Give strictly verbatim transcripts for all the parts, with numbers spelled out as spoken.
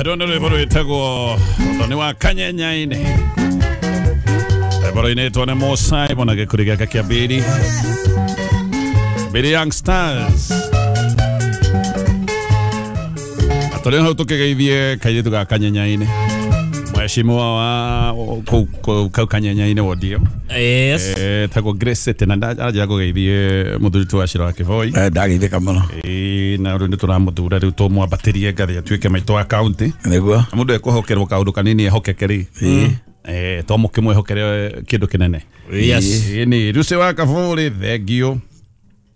Rwendo rwĩmbo rwĩtagwo Ũthoni wa Kanyenyainĩ. Rwĩmbo rũinĩtwo nĩ Mo Simon na gĩkundi gĩake kĩa Biri Biri Young Stars. Na tũrĩ hau tũkĩgeithie kairĩtu ga Kanyenyainĩ, mheshimiwa wa kũu kũu Kanyenyainĩ wodi ĩyo. Yes. Eh, tagwo Grace City na ndanjĩra kũgeithie mũthuri tu wa Shiro wa Kĩboi. Eh, ndageithĩka mũno. Ĩĩ, na rĩu nĩ tũramũthura rĩu tũmwambatĩrie ngathĩ atuĩke maitũ wa county. Nĩguo. Mũndũ ekũhokerwo kaũndũ kanini ehokeke rĩ, eh to mũkĩmwĩhokere kĩndũ kĩnene. Yes. Ĩĩ, nĩ Ruce wa Kabũrĩ, thengio.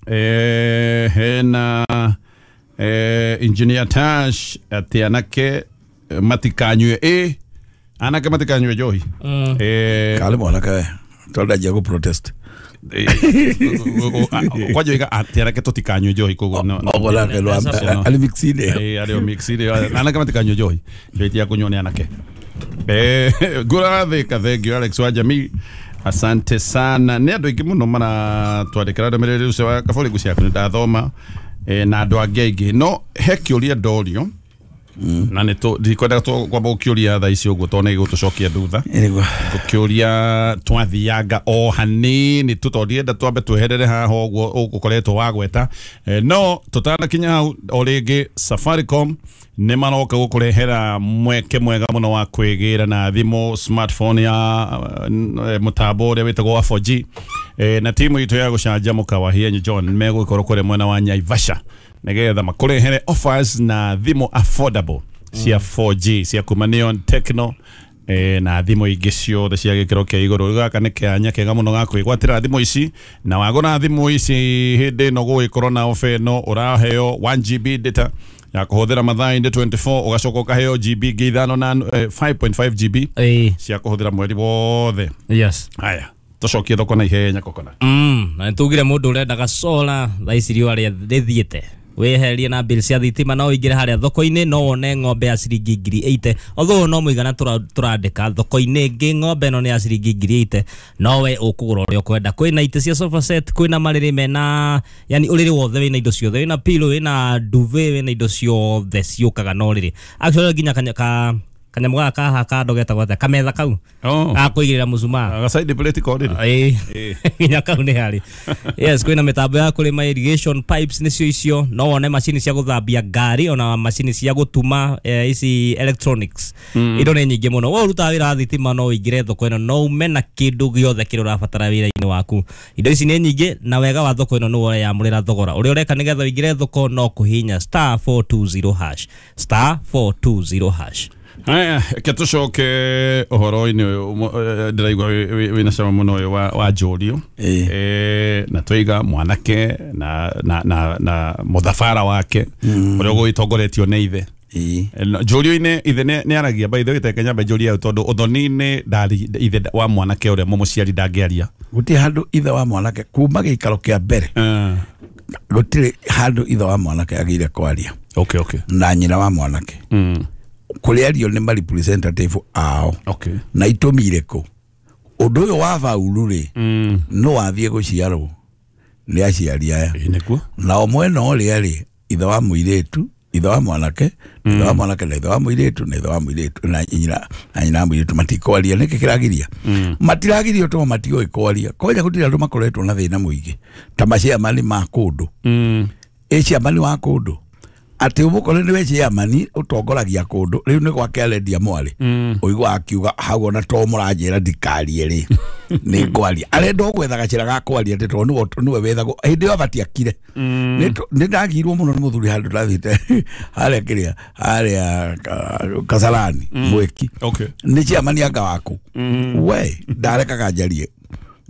Eh, hena eh, Engineer Tash atĩ anake matikanyue, ĩ anake matikanyue njohi. Eh, karĩ mwanake we tondũ ndanjia gũ protest. Kwanja oiga atĩ anake tũtikanyue njohi, koguo no no- Oguo nake no- arĩ mixine. Eh, arĩ o mixire, anake matikanyue njohi, njohi ti ya kũnyuo nĩ anake. Eh, ngũrathĩka, thengio Alex wa Jamii, asante sana. Nĩ andũ aingĩ mũno maratwandĩkĩra ndũmĩrĩri ũcio wa Kabũrĩ ngũ ciaku nĩ ndathoma, eh, na andũ angĩ aingĩ, no he kĩũria ndorio na nĩ tũ ndikwenda kwamba gũkĩũria thaa ici ũguo tondũ nĩ gĩgũtũcokia thutha. Nĩguo. Ngũkĩũria twathianga o hanini tu tondũ ndienda twambe tweherere haha ũguo ũgũkoretwo wagweta. Eh, no tũtanakinya hau, o rĩngĩ Safaricom nĩ maroka gũkũrehera mweke mwega mũno wa kwĩgĩra na thimũ smartphone ya eh, mũtambo ũrĩa wĩtagwo wa four G. Eh, na timu itũ ya gũcanjamũka wa Hienyi John megũgĩkorwo kũrĩa mwena wa Naivasha nĩgetha makũrehere offers na thimũ affordable cia four G cia kuma Neon, Tecno, eh, na thimũ ingĩ ciothe cia gĩkĩro kĩa igũrũ. Rĩu gaka nĩ kanya kega mũno ga kwĩgwatĩra thimũ ici, na wagũra thimũ ici hĩndĩ ĩno gũgĩkorwo na ofa ĩno, ũraheo one G B data ya kũhũthĩra mathaa-inĩ twenty-four, ũgacoka ũkaheo G B ingĩ ithano na eh, five point five G B Ĩĩ. cia kũhũthĩra mweri wothe. Yes. Haya, tũcokie thoko na ihenya kokona. Mm, na nĩtugire mũndũ ũrendaga solar thaa ici riũa rĩa rĩthiĩte wĩherie na bill cia thitima, no ũingĩre harĩa thoko-inĩ no wone ng'ombe ya ciringi ngiri eighty, although no mũigana tũra- tũrandĩka thoko-inĩ ĩngĩ ng'ombe ĩno nĩ ya ciringi ngiri eighty, no we ũkũgũra ũrĩa ũkwenda. Kwĩna itĩ cia sofa set, kwĩna marĩrĩ mena, yani ũrĩrĩ wothe wĩna indo ciothe, wĩna pillow, wĩna duvet, wĩna indo ciothe ciũkaga na ũrĩrĩ. Actually nginya kanya, ka kanyamũ gaka kaha kando getagwo atĩa, kametha kau Oh. ga kũigĩrĩra mũcumaa. Gacaidi plate korĩrĩ. Ĩĩ, nginya kau nĩ harĩ. Yes, kwĩna mĩtambo ya kũrĩma, irrigation pipes nĩcio icio, no wone macini cia gũthambia ngari, ona macini cia gũtuma, eh, ici electronics. Indo nĩ nyingĩ mũno. We ũrutaga wĩra wa thitima, no ũingĩre thoko ĩno no ume na kĩndũ gĩothe kĩrĩa ũrabatara wĩra-inĩ waku. Indo ici nĩ nyingĩ, na wega wa thoko ĩno nĩ ũreyamũrĩra thogora ũrĩa ũreka. Nĩgetha ũingĩre thoko no kũhihinya star four two zero hash, star four two zero hash. Haya, reke tũcoke ũhoro-inĩ ũyũ ũmwe, eh, ndĩraigua wĩ- wĩ- wĩna cama mũno ũyũ wa, wa njũrio. Ĩĩ. Eh, na twaiga mwanake na, na, na, na mũthabara wake ũrĩa ũgũgĩtongoretio nĩ ithe. Ĩĩ. Eh, no, njũrio-inĩ ithe nĩ nĩ aragia. By the way, teke nyambe njũria ĩyo tondũ ũthoni-inĩ ndari ithe wa mwanake ũrĩa mũmũciari ndangĩaria. Gũtirĩ handũ ithe wa mwanake kuma gĩikaro kĩa mbere, Eh, gũtirĩ handũ ithe wa mwanake agĩire kwaria okay okay na nyina wa mwanake. mm. Kũrĩ ario nĩ ma representative ao. Okay na itũmi irĩkũ ũndũ ũyũ wa bauru rĩ, mm. no wathiĩ gũciarwo nĩ aciari aya. Ĩĩ, nĩguo. Nao mwena ũrĩa rĩ, ithe wa mũirĩtu, ithe wa mwanake, ithe wa mwanake na ithe wa mũirĩtu na ithe wa mũirĩtu na nyina na nyina wa mũirĩtu matikwaria. Nĩkĩ kĩragiria? Matiragirio tondũ matiũĩ kwaria. Kwanja gũtirĩ andũ makoretwo na thĩna mũingĩ ta maciamani ma kũndũ. mm. Ĩ ciamani wa kũndũ atĩ ũmũkore nĩwe ciamani ũtongoragia kũndũ, rĩu nĩ gwake arendia mwarĩ, Mm. ũigua akiuga hau, ona to mũranjĩra ndikarie rĩ, nĩ ngwaria. Arenda o gwetha gacĩra ga kwaria atĩ tondũ nĩwe nĩwe wethagwo hĩndĩ ĩyo abatiĩ akire. Nĩ tũ- nĩ ndagirwo mũno nĩ mũthuri handũ ndathiĩte harĩa kĩrĩa harĩa ka- Kasarani mwĩki. Okay nĩ ciamani anga waku we ndarekaga njarie,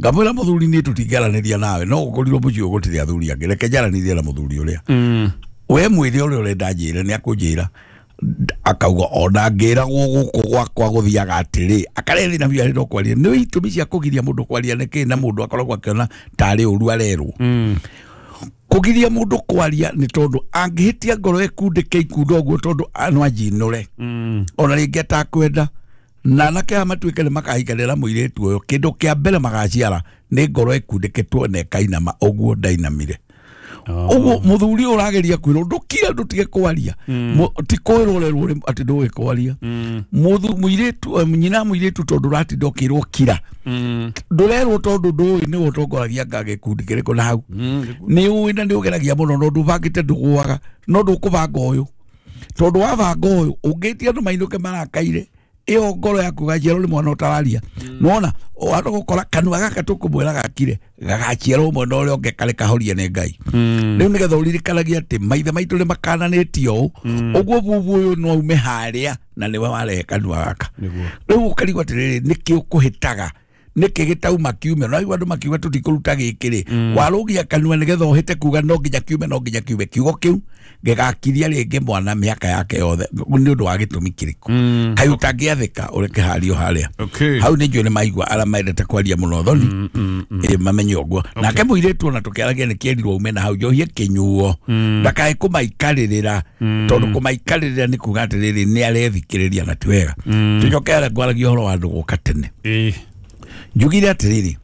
ngamwĩra mũthuri niĩ tũtingĩaranĩria nawe, no gũkorirwo mũciĩ ũyũ gũtirĩ athuri angĩ, reke njaranĩrie na mũthuri ũrĩa. mm. We mwĩre ũrĩa ũrenda njĩre, nĩ akũnjĩra. Akauga ona ngĩragwo gũkũ gwakwa gũthiaga atĩrĩ, akarethina na biũ arenda kwaria. Nĩ itũmi cia kũgiria mũndũ kwaria nĩ kĩ? Na mũndũ akoragwo akĩona tarĩ ũru arerwo. Mm. Kũgiria mũndũ kwaria nĩ tondũ angĩhĩtia ngoro ĩkundĩke ikundo ũguo, tondũ no anjinũre Mm. ona rĩngĩ atakwenda, na anake aya matuĩke nĩ makahikanĩra mũirĩtu ũyũ, kĩndũ kĩa mbere magaciara nĩ ngoro ĩkundĩkĩtwo na ĩkainama ũguo ndainamire. Ũguo mũthuri ũrageria kwĩrwo ndũkire ndũtige kwaria ti kwĩrwo ũrerwo atĩ ndũĩ kwaria mũthu mũirĩtu nyina mũirĩtu tondũ ũratinda ũkĩrwo kira ndũrerwo tondũ ndũĩ nĩwe ũtongoragia nga gĩkundi kĩrĩkũ na hau nĩ ũĩ na nĩ ũgeragia mũno no ndũbangĩte ndũgũaga no ndũkũbanga ũyũ tondũ wabanga ũyũ ũngĩtia andũ mainũke marakaire ĩyo ngoro yaku gaciarwo nĩ mwana ũtararia nĩwona wahota gũkora kanua gaka tũkũmwĩra gakire gagaciarwo mwena ũrĩa ũngĩ karĩ kahorie nĩ Ngai rĩu nĩgetha ũririkanagie atĩ maithe maitũ nĩ makananĩtio ũũ ũguo bubu ũyũ no aume harĩa na nĩwe warehe kanua gaka rĩu ũkarigwo atĩrĩrĩ nĩkĩ ũkũhĩtaga nĩkĩ gĩtauma kiume no aigua andũ makiuga tũtikũruta gĩkĩ rĩ warũgia kanua nĩgetha ũhĩte kuga no nginya kiume no nginya kiume kiugo kĩu gĩgakiria rĩngĩ mwana mĩaka yake yothe nĩ ũndũ wa gĩtũmi kĩrĩkũ kaĩ ũtangĩathĩka ũreke hario harĩa hau nĩ njũĩ nĩ maigua arĩa mendete kwaria mũno thoni ĩ mamenye ũguo nake mũirĩtu ona tũkĩaragia nĩ kĩerirwo ume na hau njohie kĩnyuo ndakae kũmaikarĩrĩra tondũ kũmaikarĩrĩra nĩ kuga atĩrĩrĩ nĩ arethikĩrĩria na ti wega tũcoke harĩa ngwaragia ũhoro wa andũ gũka tene njugire atĩrĩrĩ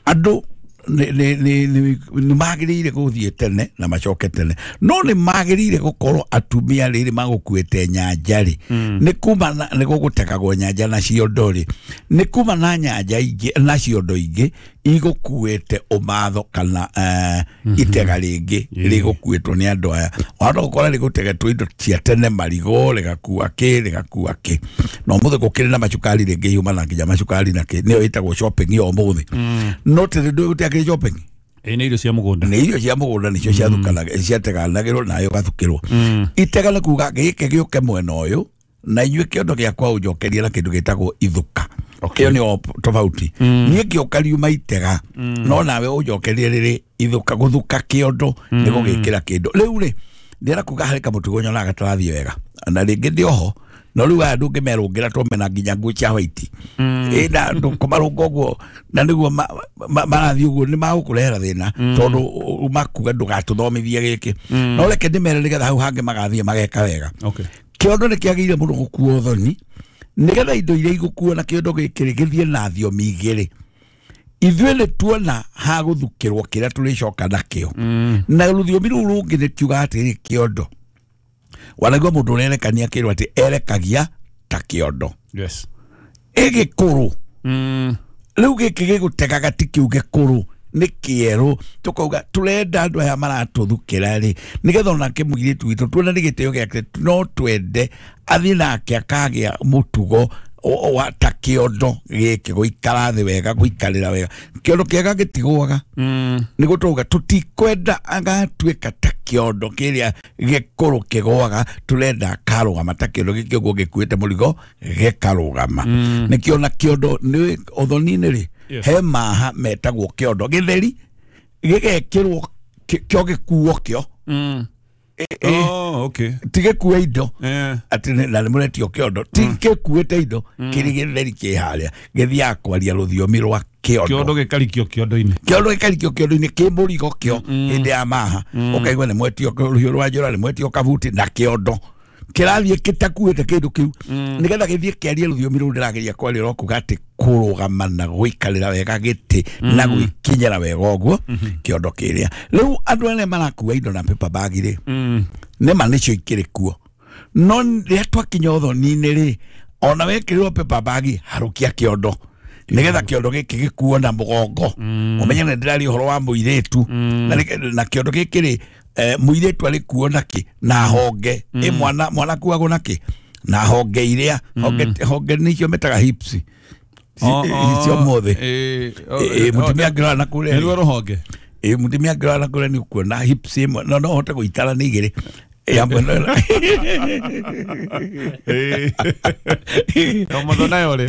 andũ nĩ magĩrĩire gũthiĩ tene na macoke tene no nĩ magĩrĩire gũkorwo atumia rĩrĩ magũkuĩte nyanja rĩ nĩ kuma nĩ gũgũtegagwo nyanja na ciondo rĩ nĩ kuma na nyanja ingĩ na ciondo ingĩ igũkuĩte ũmatho kana itega rĩngĩ rĩgũkuĩtwo nĩ andũ aya wahota gũkora rĩgũtegetwo indo cia tene marigũ rĩgakua kĩ rĩgakua kĩ na ũmũthĩ gũkĩrĩ na macukari rĩngĩ yumana nginya macukari na kĩ nĩyo ĩtagwo shopping ya ũmũthĩ no tene ndũĩ gũtiakĩrĩ shopping ĩ nĩ irio cia mũgũnda nĩ irio cia mũgũnda nĩcio ciathukanaga ciateganagĩrwo nayo gathukĩrwo itega nĩ kuga gĩkĩ gĩũke mwena ũyũ na inyuĩ kĩondo gĩakwa ũnjokerie na kĩndũ gĩtagwo ithuka ĩyo nĩyo tofauti niĩ ngĩũka riuma itega no nawe ũnjokerie rĩrĩ ithuka gũthuka kĩondo nĩ gũgĩkĩra kĩndũ rĩu rĩ ndĩrenda kuga harĩ kamũtugo nyonaga gatarathiĩ wega na rĩngĩ ndĩ oho no rĩu aya ndũngĩmerũngĩra tũmena nginya nguo cia white ĩ na ndũkũmarũnga ũguo na nĩguo marathiĩ ũguo nĩ magũkũrehera thĩna tondũ makuga ndũgatũthomithie gĩkĩ no reke ndĩmere nĩgetha hau hangĩ magathiĩ mageka wega kĩondo nĩ kĩagĩrĩire mũno gũkuo thoni nĩgetha indo iria igũkuo na kĩondo gĩkĩ gĩthiĩ na thiomi igĩrĩ ithuĩ nĩ tuona ha gũthukĩrwo kĩrĩa tũrĩcoka nakĩo na rũthiomi rũu rũngĩ nĩ kiuga atĩrĩ kĩondo wanaigua mũndũ ũrerekania kĩrwo atĩ erekagia ta kĩondo yes ĩgĩkũrũ rĩu gĩkĩ gĩgũtegaga ti kĩu gĩkũrũ nĩ kĩerũ tũkauga tũrenda andũ aya maratũthukĩra rĩ nĩgetha onake mũirĩtu witũ tuone nĩ gĩtĩo gĩake no twende athiĩ nake akagĩa mũtugo wa ta kĩondo gĩkĩ gũikara thĩ wega gũikarĩra wega kĩondo kĩega gĩtigũaga nĩ gũtũga tũtikwenda agatuĩka ta kĩondo kĩrĩa gĩkũrũ kĩgũaga tũrenda akarũgama ta kĩondo gĩkĩ ũguo gĩkuĩte mũrigo gĩkarũgama nĩkĩo na kĩondo nĩ ũthoni-inĩ rĩ he maha metagwo kĩondo gĩtheri gĩgekĩrwo kĩo gĩkuo kĩo Oh, okay. Ti gĩkue indo atĩ na nĩ mũretio kĩondo ti gĩkuĩte indo kĩrĩ gĩtheri kĩ harĩa gĩthiaga kwaria rũthiomi rwa kĩondo kĩondo gĩkarikio kĩondo-inĩ kĩondo gĩkarikio kĩondo-inĩ kĩ mũrigo kĩo hĩndĩ ya maha ũkaigua nĩ mwetio rũhiũ rwa njora nĩ mwetio kabuti na kĩondo kĩrathiĩ gĩtakuĩte kĩndũ kĩu nĩgetha gĩthiĩ kĩarie rũthiomi rũu ndĩrageria kwaria rwa kuga atĩ kũrũgama na gũikarĩra wega gĩtĩ na gwĩkinyĩra wega ũguo kĩondo kĩrĩa rĩu andũ arĩa marakua indo na paper bag rĩ nĩma nĩcio ikĩrĩ kuo no rĩrĩa twakinya ũthoni-inĩ rĩ ona wekĩrĩrwo paper bag harũkia kĩondo nĩgetha kĩondo gĩkĩ gĩkuo na mũgongo ũmenye nĩ ndĩraria ũhoro wa mũirĩtu na kĩondo gĩkĩ rĩ mũirĩtu arĩ kuo nakĩ na honge ĩ mwana mwana kuagwo nakĩ na honge iria honge honge nĩcio metaga hips icio mothe ĩ mũtumia angĩrora na kũrĩa nĩruo rũhonge ĩ mũtumia angĩrora na kũrĩa nĩ ũkuona hips ĩmwe no no ũhote gũitara nĩ igĩrĩ ya mwena ĩ mũthũ nayo rĩ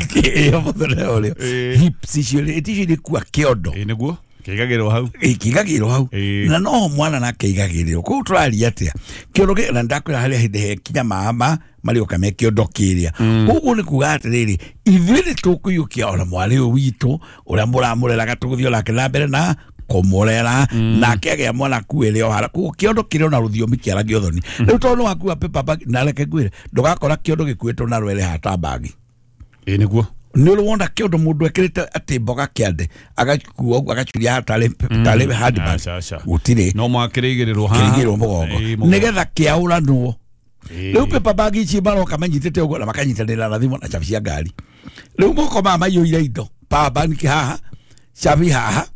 ĩ mũthũ nayo rĩ hips icio rĩ icio nĩ kua kĩondo ĩ nĩguo kĩigagĩrwo hau kĩigagĩrwo hau na no mwana nake igagĩrĩrwo koguo tũraria atĩa kĩondo gĩ na ndakwĩra harĩa hĩndĩ he kinya mama marĩũka me kĩondo kĩrĩa koguo nĩ kuga atĩrĩrĩ ithuĩ nĩ tũkũiyũkia ona mwarĩ ũyũ witũ ũrĩa mũramũreraga tũgũthiĩ onake na mbere na kũmũrera nake agĩa mwana akuĩre o hara koguo kĩondo kĩrĩ ona rũthiomi kĩaragia ũthoni rĩu tondũ nĩ wakua paper bag na reke ngwĩre ndũgakora kĩondo gĩkuĩtwo na rwere hata bagi ĩ nĩguo Nĩ ũrĩ wona kĩondo mũndũ ekĩrĩte atĩ mboga kĩande agakua ũguo agacuria tarĩ tarĩ handbag Aca, aca. Gũtirĩ. No mwakĩrĩigĩrĩrwo haha. Kĩrigĩrwo mũgongo Ĩĩ, mũgongo. nĩgetha kĩaũranwo. Ĩĩ. Rĩu paper bag ici maroka manyitĩte ũguo na makanyitanĩra na thimũ na cabi cia ngari. Rĩu moko maya maiyũire indo, power bank haha, cabi haha,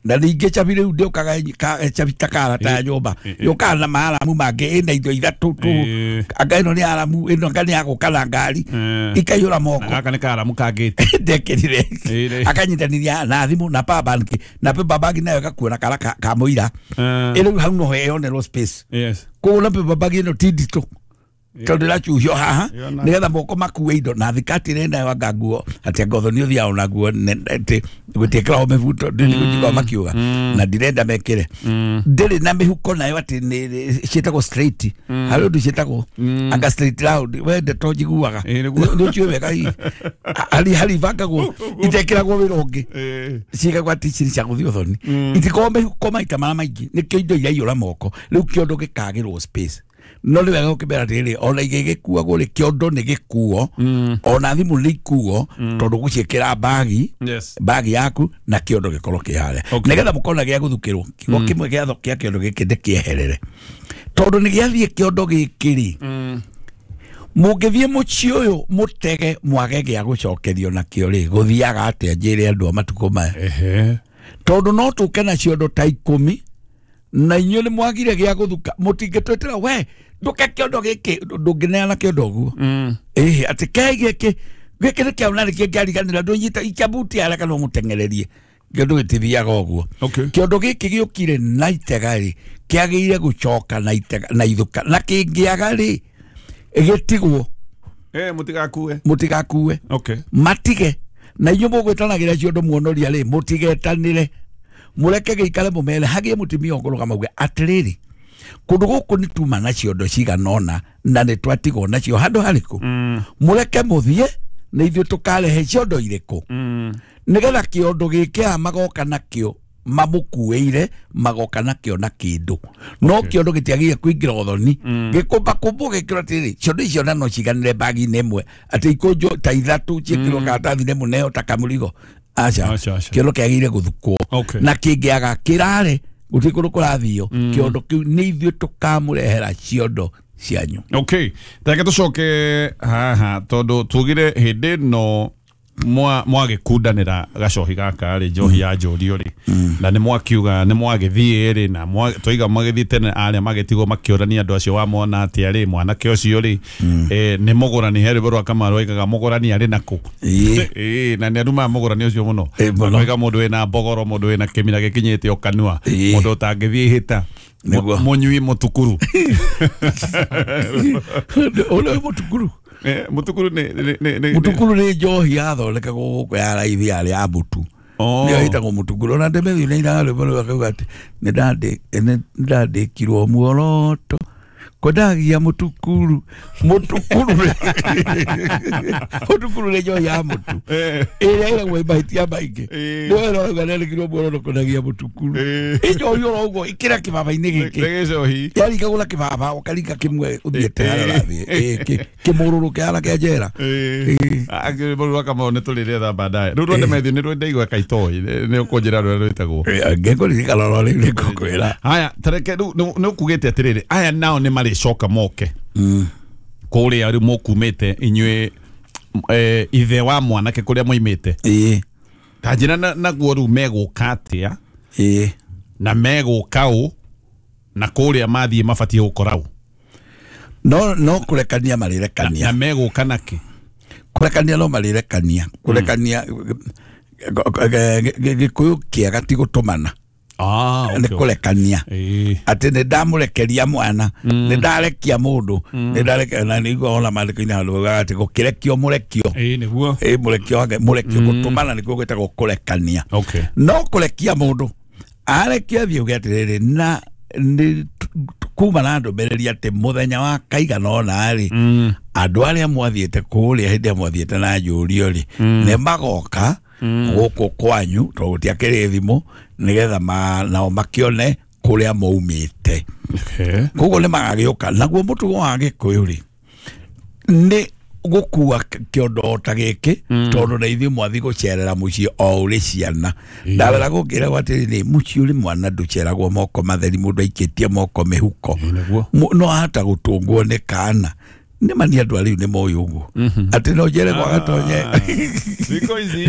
na ningĩ cabi rĩu ndĩũkaga ka- cabi ta karata ya nyũmba, yũkaga na maaramu mangĩ ĩna indo ithatũ tũ. Ĩĩ. Anga ĩno nĩ aramu, ĩno anga nĩ ya gũka na ngari, Ĩĩ. ikaiyũra moko. Na gaka nĩ karamu kangĩte. Ndekĩrire. Ĩĩ. Akanyitanĩria na thimũ na power bank, na paper bag nayo ĩgakuo na kara ka ka mũira. Eh. Ĩrĩu hau noho ĩyonerwo space. Yes. Koguo na paper bag ĩno ti nditũ tondũ ĩracuhio haha Yona. nĩgetha moko makue indo na thikati ĩrĩ nayo anga nguo atĩ anga ũthoni ũthiaga ona nguo ne- atĩ gũtiĩkĩragwo mĩbuto ndĩndigũjigua makiuga na ndirenda mekĩre. Ndĩrĩ na mĩhuko nayo atĩ nĩ ciĩtagwo straight, harĩ ũndũ ciĩtagwo anga straight round, we ndeto njiguaga. Ĩĩ, nĩguo. Nĩ ũciũĩ wega hihi harĩ harĩ ibangagwo itekĩragwo wĩra ũngĩ. Ĩĩ. Cigagwo atĩ ici nĩ cia gũthiĩ ũthoni, itikoragwo mĩhuko maita marĩa maingĩ, nĩkĩo indo iraiyũra moko. Rĩu kĩondo gĩkagĩrwo space, no nĩ wega gũkĩmera atĩrĩrĩ, ona igĩgĩkuagwo rĩ, kĩondo nĩ gĩkuo, ona thimũ nĩ ikuo, tondũ gũciĩkĩra bagi Yes. bagi yaku na kĩondo gĩkorwo kĩ harĩa Okay. nĩgetha mũkorwo na gĩa gũthukĩrwo kiugo kĩmwe gĩa gĩa kĩondo gĩkĩ ndĩkĩeherere, tondũ nĩ gĩathiĩ kĩondo gĩkĩ rĩ, mũngĩthiĩ mũciĩ ũyũ mũtege mwage gĩa gũcokerio nakĩo rĩ, gũthiaga atĩa? Njĩre andũ a matukũ maya. Ehe. Tondũ no tũke na ciondo ta ikũmi na inyuĩ nĩ mwagire gĩa gũthuka, mũtingĩtwĩtĩra we ndũke kĩondo gĩkĩ, ndũngĩneana kĩondo ũguo. Ĩhĩ, atĩ kei gĩkĩ gĩkĩ nĩ kĩao na nĩkĩo ngĩariganĩra ndũnyita ikia buti harĩa kana ũmũteng'ererie, kĩondo gĩtithiaga ũguo. Okay. Kĩondo gĩkĩ gĩũkire na itega rĩ, kĩagĩrĩire gũcoka na itega na ithuka, na kĩngĩaga rĩ, gĩtigwo. Eh, mũtigakue. Mũtigakue. Okay. Matige na inyuĩ mũgwĩtanagĩra ciondo muonoria rĩ, mũtigetanĩre, mũreke gĩikare, mũmere hagĩe mũtumia ũkũrũgama uge atĩrĩrĩ, kũndũ gũkũ nĩ tuma na ciondo cigana ũna na nĩ twatigwo nacio handũ harĩkũ, mũreke mũthiĩ na ithuĩ tũkarehe ciondo irĩkũ, nĩgetha kĩondo gĩkĩ aya magoka nakĩo mamũkuĩire, magoka nakĩo na kĩndũ no kĩondo gĩtiagĩrĩire kũingĩra ũthoni gĩkũmbakũmbwo gĩkĩrwo atĩrĩrĩ, ciondo icio na no ciganĩre bagi-inĩ ĩmwe atĩ ikũnjwo ta ithatũ ciĩkĩrwo karatathi-inĩ mũneo ta kamũrigo, aca. Aca, aca. Kĩondo kĩagĩrĩire gũthukwo. Okay. Na kĩngĩaga kĩrare gũtirĩ kũndũ kũrathio, kĩondo kĩu nĩ ithuĩ tũkamũrehera ciondo cianyu. Okay, reke tũcoke haha tondũ tugire hĩndĩ ĩno mwa mwagĩkundanĩra gacohi gaka rĩ, njohi ya njũrio rĩ, na nĩ mwakiuga nĩ mwagĩthiĩ rĩ, na mwa- twaiga magĩthiĩ tene arĩa magĩtigwo makĩũrania andũ acio wamona atĩa rĩ, mwanake ũcio rĩ, eh, nĩ mũgũrani he rwĩmbo rwa Kamaru aigaga mũgũrani arĩ nakũ. Ĩĩ. Ĩĩ, na nĩ arumaga mũgũrani ũcio mũno. Ĩĩ, mũno. Akoiga mũndũ wĩna mbogoro, mũndũ wĩna kĩmira gĩkinyĩte o kanua, Ĩĩ. mũndũ ũtangĩthiĩ ihĩta, Nĩguo. mũnyui mũtukuru. Ũrĩa mũtukuru. Eh, mũtukuru nĩ nĩ- nĩ- nĩ- Mũtukuru nĩ njohi yathondekagwo gũkũ ya raithi yarĩ ya mũtu. Oh. Nĩyo ĩtagwo mũtukuru. Ona Ndemethi nĩ ainaga rwĩmbo rũu akauga atĩ nĩ ndandĩ- nĩ ndandĩkirwo muoroto kwendagia mũtukuru. Mũtukuru mũtukuru nĩ njohi ya mũtu Eh. ĩrĩa ĩragwo mahĩtia maingĩ. Eh. Nĩyo ĩrauga nĩandĩkirwo muoroto kwendagia mũtukuru. Eh. Ĩ njohi oro ũguo ĩkĩra kĩbaba-inĩ gĩkĩ Nĩ gĩcohi. yaringagwo na kĩbaba ũkaringa kĩmwe ũthiĩte harĩa ũrathiĩ. Ĩ, kĩ- kĩmũrũrũ kĩhana kĩa njera. Rwĩmbo rwa Kamau nĩ tũrĩrĩetha baadaye. Rĩu rwa Ndemethi nĩ rwendaigua kaitoi nĩ ũkũnjĩra rũrĩa rwĩtagwo. Ngĩkũririkana oro rĩu nĩ ngũkwĩra. Haya, tareke rĩu nĩ nĩ ũkugĩte atĩrĩrĩ, aya nao nĩ marĩcoka moke kũrĩa rĩu mũkumĩte inyuĩ, eh, ithe wa mwanake kũrĩa moimĩte. Ĩĩ. Ta njĩra na- naguo rĩu megũka atĩa Ĩĩ. na megũka ũ na kũrĩa mathiĩ mabatiĩ gũkora ũ? no no kũrekania Na marĩrekania. Megũka nakĩ? Kũrekania no marĩrekania, kũrekania Gĩkũyũ kĩega ti gũtũmana. Ah, nĩ kũrekania. Ĩĩ. Atĩ nĩ ndamũrekeria mwana, nĩ ndarekia mũndũ, nĩ ndarekia na nĩguo ona maandĩko-inĩ handũ baugaga atĩ gũkĩrekio mũrekio. Ĩĩ, nĩguo. Ĩ mũrekio wake mũrekio, gũtũmana nĩkuo gwĩtagwo kũrekania. Okay. No kũrekia mũndũ arekia thiĩ uge atĩrĩrĩ, na nĩ kuma na ndũmĩrĩri atĩ mũthenya wa kaigana ũna rĩ, andũ arĩa mwathiĩte kũrĩa hĩndĩ ĩrĩa mwathiĩte na njũrio rĩ, nĩ magoka gũkũ kwanyu tondũ gũtiakĩrĩ thimũ, nĩgetha ma- nao makĩone kũrĩa maumĩte. Okay. Koguo nĩ magagĩũka naguo mũtugo wa Gĩkũyũ rĩ, nĩ gukua kiondo ta giki tondu na ithuĩ mwathi gucerera muciĩ o ũrĩ ciana ndawera gũkĩragwo atĩrĩrĩ muciĩ ũrĩ mwana ndũceragwo moko matheri mũndũ aikĩtie moko mĩhuko no ahata gũtũngwo nĩ kana nĩ mani andũ arĩu nĩ moĩ ũguo atĩ no njere gwa gatonye thikũ ici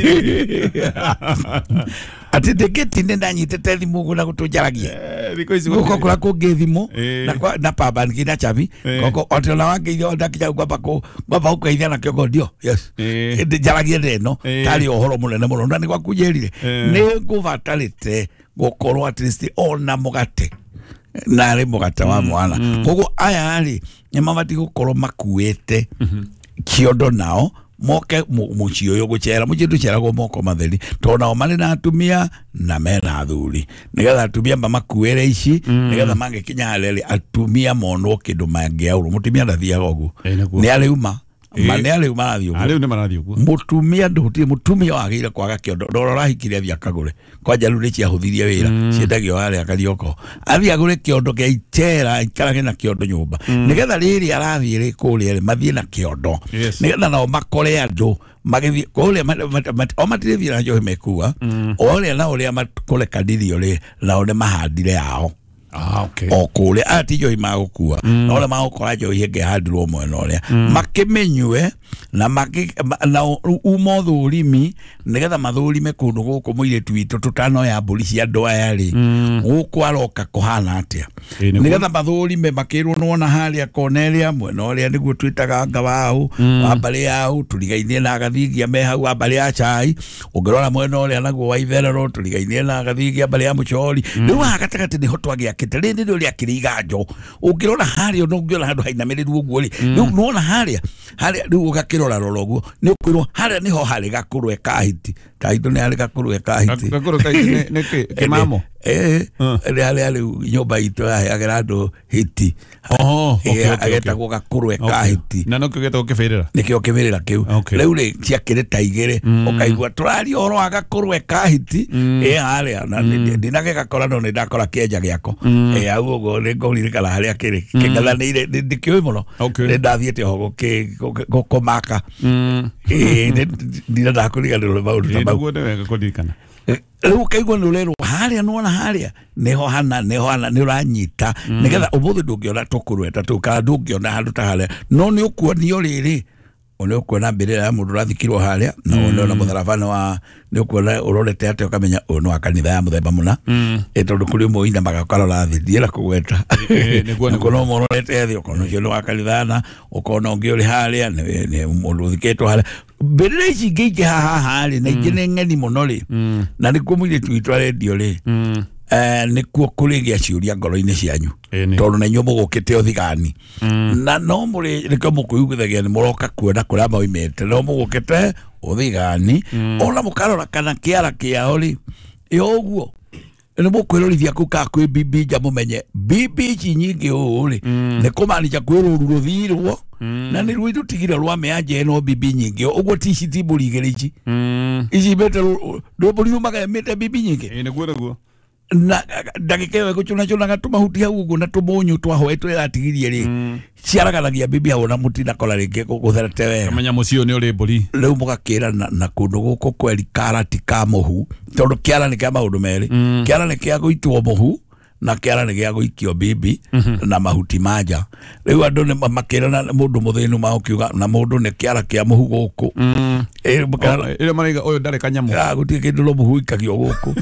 atĩ ndĩngĩti nĩ ndanyitĩte thimũ ũguo na gũtũnjaragia thikũ ici gũko kũrĩa kũngĩ thimũ na pamba nginya chabi koko atĩ ona wangeithia ndakinya ngwamba kũ ngwamba gũkũgeithia na kĩongo ndio yes njaragie ndeno tarĩ ũhoro mũnene mũno na nĩ gwaku njĩrire nĩ ngũbatarĩte gũkorwo at least ona mũgate narĩ mũgate wa mwana koguo aya rĩ nĩ mabatiĩ gũkorwo makuĩte kĩondo nao moke muciĩ ũyũ gũcera muciĩ ndũceragwo moko matheri tondũ nao marĩ na atumia na mena athuri nĩgetha atumia mamakuĩre ici nĩgetha mangĩkinya harĩa rĩ atumia monwo kĩndũ mangĩaũrwo mũtumia ndathiaga ũguo nĩ arĩuma ma nĩ arĩu marathiĩ ũguo arĩu nĩ marathiĩ ũguo mũtumia ndũhutie mũtumia wagĩrĩire kwaga kĩondo ndora ũrahikire athiĩ akagũre kwanja rĩu nĩ ciahũthirie wĩra ciendagio harĩa Karioko athiĩ agũre kĩondo kĩa icera aikarage na kĩondo nyũmba nĩgetha rĩrĩ arathiĩ rĩ kũrĩa rĩ mathiĩ na kĩondo nĩgetha nao makore andũ magĩthiĩ kũrĩa o matirĩthiĩ na njohi mekua o ũrĩa na ũrĩa makũrekanĩrio rĩ nao nĩ mahandire yao. Ah, okay. O kũrĩa aya ti njohi magũkua na ũrĩa magũkora njohi ĩngĩ ĩhandirwo mwena ũrĩa makĩmĩnyue na na uma ũthũrimi nĩgetha mathũrime kũndũ gũkũ mũirĩtu witũ tũtanoya mbũri cia andũ aya rĩ gũkũ aroka kũhana atĩa nĩgetha mathũrime makĩrwo nĩwona harĩa kona ĩrĩa mwena ũrĩa nĩguo twĩtaga anga waũ wa mbarĩ yaũ tũrigainie na agathingia me hau wa mbarĩ ya chai ũngĩrora mwena ũrĩa naguo wa itherero tũrigainie na agathingia mbarĩ ya mũchori rĩu haha gatagatĩ nĩho twagĩakĩte rĩrĩ nĩrĩo rĩakĩrĩ iganjo ũngĩrora harĩa no ũngĩona handũ hainamĩrĩru ũguo rĩ rĩu nĩwona harĩa harĩa rĩu ũgakĩrora rora ũguo nĩ ũkwĩrwo harĩa nĩho harĩ gakũrwe ka hiti ta itũ nĩ harĩ gakũrwe ka hiti gakũrwe ka hiti nĩ kĩmamo eh nĩ harĩa rĩu nyũmba itũ yaheagĩra andũ hiti oho agetagwo gakũrwe ka hiti na nĩkĩo gĩtagwo kĩbĩrĩra nĩkĩo kĩbĩrĩra kĩu rĩu rĩ ciakĩrĩ ta igĩrĩ ũkaigua tũraria ũhoro wa gakũrwe ka hiti ĩ harĩa na ndinagĩgakora no nĩ ndakora kĩenja gĩako ĩ hau ũguo nĩ ngũririkana harĩa kĩrĩ kĩng'ethanĩire ndikĩũĩ mũno nĩ ndathiĩte oho gũkũmaka ĩ ndinendaga kũriganĩrwo nĩ maũndũ ta mau nĩguo nĩ wega kũririkana rĩu ũkaigua nĩ ũrerwo harĩa nĩwona harĩa nĩho hana nĩho hana nĩ ũranyita nĩgetha ũmũthĩ ndũngĩona tũkũrwe ta tũu kana ndũngĩona handũ ta harĩa no nĩ ũkuonio rĩrĩ nĩ ũkuona mbĩrĩra ya mũndũ ũrathikirwo harĩa na wone ona mũtharaba nĩ wa nĩ ũkuona ũrorete atĩa ũkamenya ũyũ nĩ wa kanitha ya mũthemba mũna ĩ tondũ kũrĩ ũmwe ũinamaga ũkarora thĩ ndiĩra kũgweta ũkona ũmwe ũrorete thĩ ũkona ũcio nĩ wa kanitha na ũkona ũngĩ ũrĩ harĩa nĩ mũndũ ũthikĩtwo harĩa mbĩrĩra ici ingĩ ingĩ haha haha rĩ na ingĩ nĩ ng'eni mũno rĩ na nĩkuo mũirĩtu witũ arendio rĩ nĩkuo kũrĩgĩa ciũria ngoro-inĩ cianyu tondũ na inyuĩ mũgũkĩte ũthigani na no mũrĩ nĩkĩo mũkwĩiguithagia nĩ mũroka kuona kũrĩa moimĩte no mũgũkĩte ũthigani ona mũkarora kana kĩara kĩao rĩ ĩ ũguo nĩ mũkwĩrorithia kũu kana kwĩ bibi nja mũmenye bibi ici nyingĩ ũũ rĩ nĩ kũmaanisha kwĩ rũru rũthirwo na nĩ ruo itũtigire rwa mĩanja ĩno bibi nyingĩ ũguo ti ici ti mbũri igĩrĩ ici ici mĩte mbũri yumaga ĩmĩte bibi nyingĩ nĩguo nĩguo na ndagĩka ĩyo ĩgũcũnacũnaga tũmahuti hau ũguo na tũmũnyũ twa hwaĩ tũrĩa ĩratigirie rĩ ciaraganagia bibi hau na mũtinakora rĩngĩ gũtherete wega kamenya mũciĩ ũyũ nĩ ũrĩ mbũri rĩu mũgakĩra na kũndũ gũkũ kweri karati ka mũhu tondũ kĩara nĩ kĩa maũndũ merĩ kĩara nĩ kĩa gũitwo mũhu na kĩara nĩ gĩa gũikio bibi na mahuti ma nja rĩu andũ nĩ makĩrana mũndũ mũthĩnu magũkiuga na mũndũ nĩ kĩara kĩa mũhu gũkũ ĩrĩa maraiga ũyũ ndarĩ kanyamũ gũtirĩ kĩndũ no mũhu ikagio gũkũ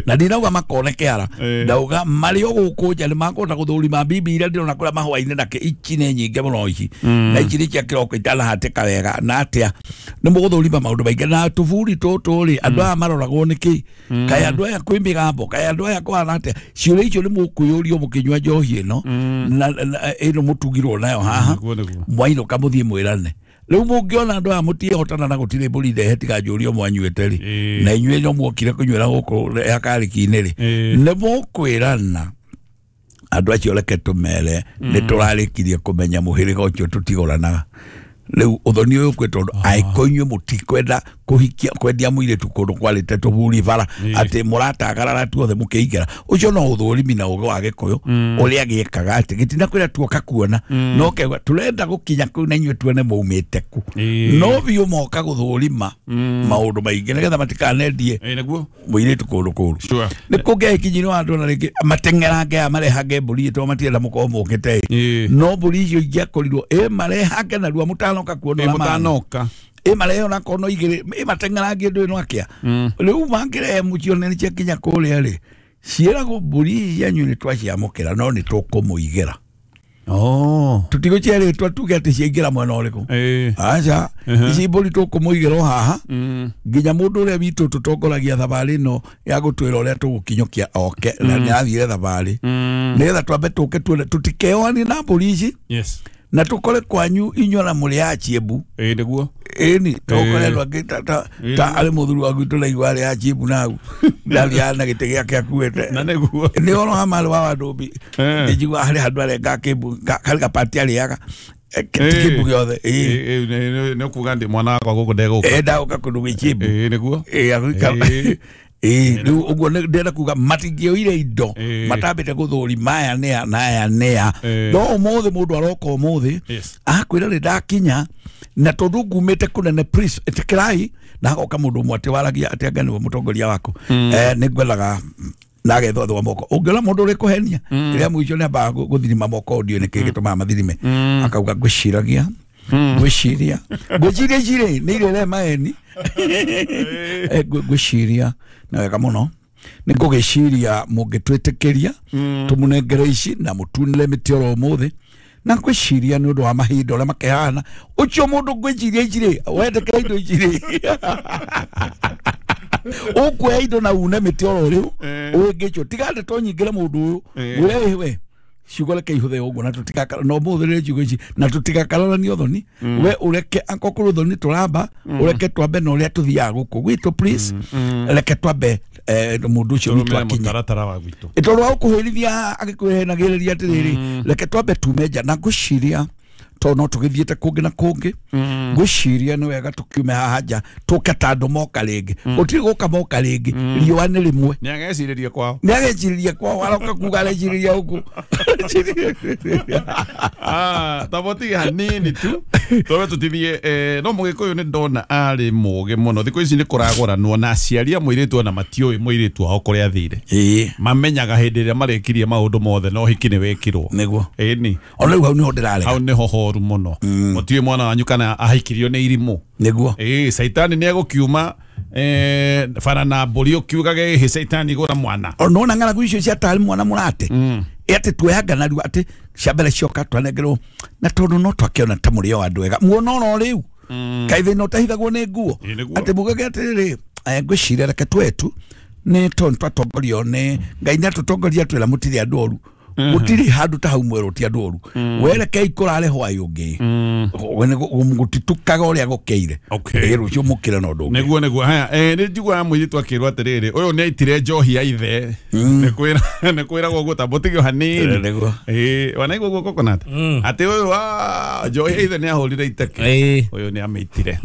na ndinauga makone kĩara ndauga marĩ o gũkũ nja nĩ makũhota gũthũrima bibi iria ndĩrona kũrĩa mahũa-inĩ na ici nĩ nyingĩ mũno ici na ici nĩ cia kĩroko itanahatĩka wega na atĩa nĩ mũgũthũrima maũndũ maingĩ na tũburi tũtũ rĩ andũ aya maroragwo nĩkĩ kaĩ andũ aya kwĩ mĩgambo kaĩ andũ aya kũhana atĩa ciũria icio nĩ mũkwĩyũrio mũkĩnyua njohi ĩno na ĩno mũtugirwo nayo haha mwainũka mũthiĩ mwĩrane rĩu mũngĩona andũ aya mũtiĩhotana na gũtirĩ mbũri ndehe tiga njũrio mwanyuĩte rĩ na inyuĩ no muokire kũnyuĩra gũkũ yakarĩki-inĩ rĩ nĩ mũkwĩrana andũ acio reke tũmere nĩ tũrarĩkirie kũmenya mũhĩrĩga ũcio tũtigũranaga rĩu ũthoni ũyũ kwĩ tondũ angĩkorwo inyuĩ mũtikwenda kuhikia kwendia muiretu kundu kwarite tuburi bara ati muratagarara tuothe mukiingera ucio no uthurimi na ugo wa Gikuyu uria giekaga ati gitina kwira tuoka kuona no kegwa turenda gukinya kuu na inyue tuone muumite ku no biu moka guthurima maundu maingi nigetha matikanendie niguo muiretu kundu kuru ni kungekinyirwo andu na ringi matengerange aya marehange mburi to matienda mukorwo mukite no mburi icio ingĩakorirwo ĩ marehange narua mũtanoka kuona na mũtanoka ĩ marehe ona kono igĩrĩ ĩ mateng'erangie ndũĩ no akĩa rĩu mangĩrehe mũcione nĩ ciakinya kũrĩa rĩ ciĩragwo mbũri ici cianyu nĩ twaciamũkĩra no nĩ tũkũmũigĩra. Oh. Tutigocerĩtwa tuge atĩ ciaingĩra mwena ũrĩkũ. Aca ici mbũri tũkũmũigĩra o haha nginya mũndũ ũrĩa witũ tũtongoragia thabarĩ ĩno ya gũtwĩra ũrĩa tũgũkinyũkia oke na nĩathire thabarĩ nĩgetha twambe tũke tuone tũtikeoanie na mbũri ici. Yes. Na tukore kwanyu inyuĩ na mũrĩ a Chiembu. Ĩĩ nĩguo. Ĩni tukore andũ angĩ ta ta ta arĩ mũthuri wa gwitũ naigua arĩ a Chiembu nau ndathiaga na gĩtĩ gĩake akuĩte. Na nĩguo. Nĩ ũhoro wa marĩ wa Wandũmbi njigua harĩ handũ arenga kĩmbu harĩ gapati arĩaga ti kĩmbu gĩothe. Ĩĩ nĩ ũkuga ndĩ mwana wakwa gũkũ ndegũka. Ĩĩ ndagũka kũndũ gwĩ Chiembu. Ĩĩ nĩguo. Ĩĩ ĩĩ rĩu ũguo ndĩrenda kuga matingĩoire indo matambĩte gũthũri maya nĩa na aya nĩa no ũmũthĩ mũndũ aroka ũmũthĩ akwĩra rĩ ndakinya na tondũ ngumĩte kũnene please ĩtĩkĩrai na hagoka mũndũ ũmwe atĩ waragia atĩ anga nĩwe mũtongoria waku eh nĩ ngwendaga na agethwo thwa moko ũngĩona mũndũ ũrĩ kũhenia rĩrĩa mũico nĩ ambaga gũthirima moko ndiũ nĩkĩ gĩtũmaga mathirime akauga ngwĩciragia ngwĩciria ngwĩciria ici rĩ nĩ irĩre maeni ngwĩciria na wega mũno nĩ ngũgĩciria mũngĩtwĩtĩkĩria tũmũnengere ici na mũtunĩre mĩtĩ oro ũmũthĩ na ngwĩciria nĩ ũndũ wa mahinda ũrĩa makĩhana ũcio mũndũ ngwĩciria ici rĩ wendekera indo ici rĩ ũkuoya indo na une mĩtĩ oro rĩu ũngĩcio tiga ndeto nyingĩre mũndũ ũyũ mwĩre we ciugo reke ihũthe ũguo na tũtigakara no mũhũthĩrĩre ciugo ici na tũtigakararanie ũthoni we ũreke akorwo kũrĩ ũthoni tũramba ũreke twambe na ũrĩa tũthiaga gũkũ gwitũ please reke twambe mũndũ ũcio witũ akinye mũtaratara wa gwitũ tondũ wa gũkũhĩrithia agĩkwĩhenagĩrĩria atĩrĩrĩ reke twambe tume nja na ngwĩciria tondũ no tũgĩthiĩte kũngĩ na kũngĩ ngwĩciria nĩ wega tũkiume haha nja tũke ta andũ moka rĩngĩ gũtirĩ gũka moka rĩngĩ riũa nĩ rĩmwe nĩ agecirĩria kwao nĩ agecirĩria kwao aroka kuga arecirĩria gũkũ. Ah, tabotige hanini tu twabe tutithie no mũgĩkũyũ nĩ ndona arĩ mũgĩ mũno thikũ ici nĩ kũragũranwo na aciari a mũirĩtu ona matiũĩ mũirĩtu wao kũrĩa athire. Ĩĩ mamenyaga hĩndĩ ĩrĩa marĩkirie maũndũ mothe no hiki nĩ wĩkirwo nĩguo. Ĩni ona rĩu hau nĩho ndĩrarega hau nĩho horu mũno mũtiũĩ mwana wanyu kana ahikirio nĩ irimũ nĩguo. Ĩĩ caitani nĩ egũkiuma eh bara na mbũri ũkiugage ĩhĩ caitani gũra mwana nona ng'aragu icio cia tarĩ mwana mũrate ĩ atĩ tuoyanga narua atĩ cia mbere cioka twanengerwo na tondũ no twakĩona ta mũrĩ o andũ ega muona oro rĩu kaĩ thĩna ũtahithagwo nĩ nguo atĩ mugage atĩrĩrĩ ngwĩciria reke twetu nĩ tondũ twatongorio nĩ Ngai nĩ atũtongoria twĩra mũtirĩ andũ oru gũtirĩ handũ ta hau mwerũ ti andũ oru werekei kũrare hwaĩ ũngĩ gũtitukaga ũrĩa gũkĩire ĩ rũciũ mũkĩre na ũndũ ũngĩ nĩguo nĩguo. Haya nĩ njiguaga mũirĩtu akĩrwo atĩrĩrĩ ũyũ nĩ aitire njohi ya ithe nĩ kwĩragwo ũguo ta mũtige hanini nĩguo. Ĩ wanaigua ũguo Coconut atĩ ũyũ wa njohi ya ithe nĩ ahũrire iteke ũyũ nĩ amĩitire.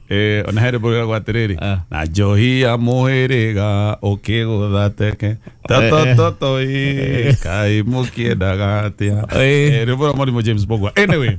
Eh ona here bũrĩragwo atĩrĩrĩ na njohi ya mũhĩrĩga ũkĩgũtha teke tatototo ĩ kai mũkĩendaga atĩa. Eh rĩu bũrĩa mũrimũ James Bogwa. Anyway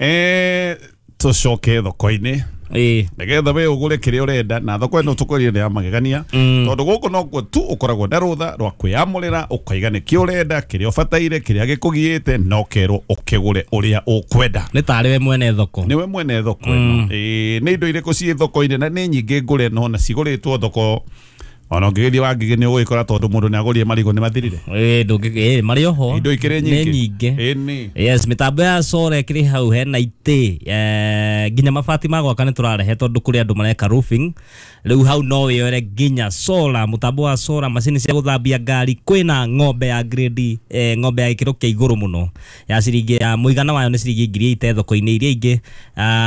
eh tũcoke thoko-inĩ ĩĩ nĩgetha we ũgũre kĩrĩa ũrenda na thoko ĩno tũkũrire nĩ ya magegania tondũ gũkũ nokuo tu ũkoragwo na rũtha rwa kwĩyamũrĩra ũkaiga nĩkĩ ũrenda kĩrĩa ũbataire kĩrĩa gĩkũgiĩte na ũkerwo ũkĩgũre ũrĩa ũkwenda nĩ tarĩ we mwene thoko nĩwe mwene thoko ĩno. Ĩĩ nĩ indo irĩkũ ciĩ thoko-inĩ na nĩ nyingĩ ngũre no na cigũrĩtwo thoko ona ũngĩgĩthiĩ Wangigĩ nĩ ũgũgĩkora tondũ mũndũ nĩ agũrire marigũ nĩ mathirire. Ĩĩ ndũngĩ ĩĩ marĩ oho indo ikĩrĩ nyingĩ nĩ nyingĩ. Ĩni yes mĩtambo ya solar ĩkĩrĩ hau hena itĩ eh nginya mabati ma gwaka nĩ tũrarehe tondũ kũrĩ andũ mareka roofing rĩu hau no wĩyore nginya solar mũtambo wa solar macini cia gũthambia ngari kwĩna ng'ombe ya grade eh ng'ombe ya gĩkĩro kĩa igũrũ mũno ya ciringi ya mũigana wayo nĩ ciringi ngiri ite thoko-inĩ iria ingĩ.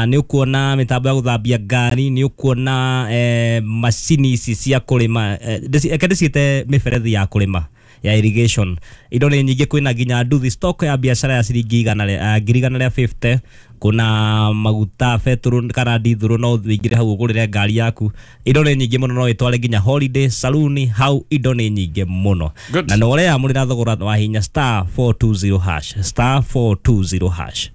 Nĩ ũkuona mĩtambo ya gũthambia ngari nĩ ũkuona eh macini ici cia kũrĩma kwina eh, ndĩci- reke ndĩciĩte mĩberethi ya kũrĩma ya irrigation. Indo nĩ nyingĩ, kwĩna nginya nduthi stock ya biacara ya ciringi igana rĩa eh, ngiri igana rĩa mĩrongo ĩtano. Kuna maguta betũrũ kana ndithũrũ, no ũingĩre hau ũgũrĩre ngari yaku. Indo nĩ nyingĩ mũno, no ĩtware nginya holiday saluni hau. Indo nĩ nyingĩ mũno. Good. Na nĩ ũreyamũrĩra thogora wa hinya star four two zero hash, star four two zero hash.